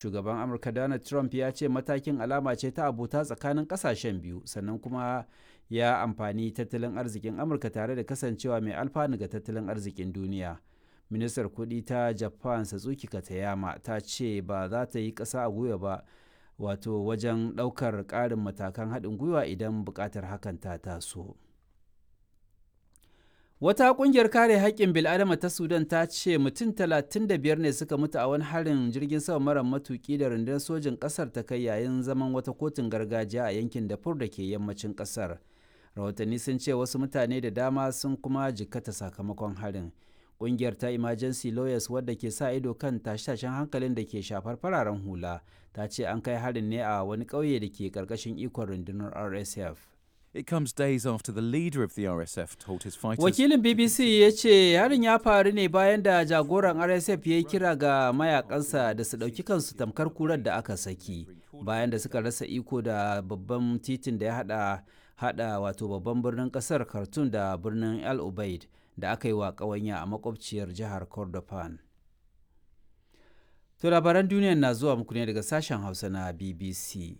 Shugaban Amurka Donald Trump ya ce matakin alama ce ta abota tsakanin kasashen biyu, sannan kuma ya amfani tattalin arzikin Amurka tare da kasancewa mai alfanu ga tattalin arzikin duniya. Ministar kuɗi ta Japan Satsuki Katayama ta ce ba za ta yi ƙasa a gwiwa ba wato wajen ɗaukar ƙarin matakan haɗin gwiwa idan buƙatar hakan ta taso. Wata ƙungiyar kare haƙƙin bil'adama ta Sudan ta ce mutum 35 ne suka mutu a wani harin jirgin sama mara matuƙi da rundunar sojin ƙasar ta kai yayin zaman wata kotun gargajiya a yankin Darfur da ke yammacin ƙasar. Rahotanni sun ce wasu mutane da dama sun kuma jikkata sakamakon harin. Ƙungiyar ta Emergency Lawyers, wadda ke sa ido kan tashe-tashen hankalin da ke shafar fararen hula, ta ce an kai harin ne a wani ƙauye da ke ƙarƙashin ikon rundunar RSF. It comes days after the leader of the RSF told his fighters. Wakilin BBC ya ce harin ya faru ne bayan da jagoran RSF ya yi kira ga mayakansa da su ɗauki kansu tamkar kurar da aka saki bayan da suka rasa iko da babban titin da ya hada wato babban birnin kasar Khartoum da birnin El Ubaid da aka yi wa ƙawanya a makwabciyar jihar Kordofan. To, labaran duniya na zuwa muku ne daga sashen Hausa na BBC.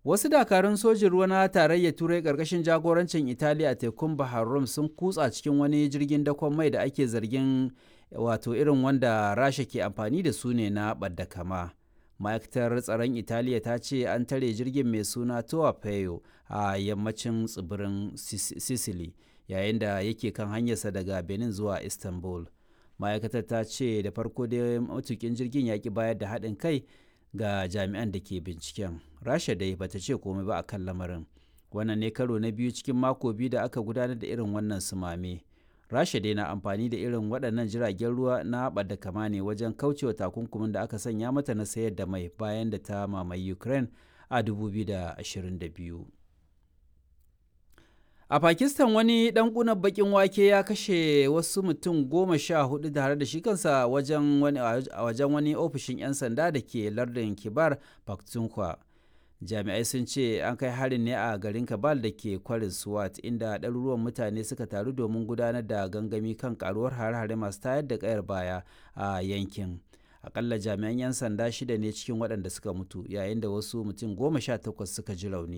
Wasu dakarun sojin ruwa na Tarayyar Turai ƙarƙashin jagorancin Italiya a tekun Bahar Rum sun kutsa cikin wani jirgin dakon mai da ake zargin wato irin wanda Rasha ke amfani da su ne na ɓadda kama. Ma'aikatar tsaron Italiya ta ce an tare jirgin mai suna Toa Peyo a yammacin tsibirin Sicily yayin da yake kan hanyarsa daga Benin zuwa Istanbul. Ma'aikatar ta ce da farko dai matukin jirgin ya ki bayar da haɗin kai ga jami'an da ke binciken. Rasha dai bata ce komai ba akan lamarin. Wannan ne karo na biyu cikin mako 2 da aka gudanar da irin wannan sumame. Rasha dai na amfani da irin waɗannan jiragen ruwa na ɓadda kama ne wajen kaucewa takunkumin da aka sanya mata na sayar da mai bayan da ta mamaye Ukraine a 2022. A Pakistan, wani ɗan ƙunar baƙin wake ya kashe wasu mutum 14 tare da shi kansa a wajen wani ofishin 'yan sanda da ke lardin Kibar Pakhtunkhwa. Jami'ai sun ce an kai harin ne a garin Kabal da ke kwarin Swat, inda ɗaruruwan mutane suka taru domin gudanar da gangami kan karuwar hare-hare masu tayar da ƙayar baya a yankin. Akalla jami'an 'yan sanda shida ne cikin waɗanda suka mutu, yayin da wasu mutum 18 suka ji rauni.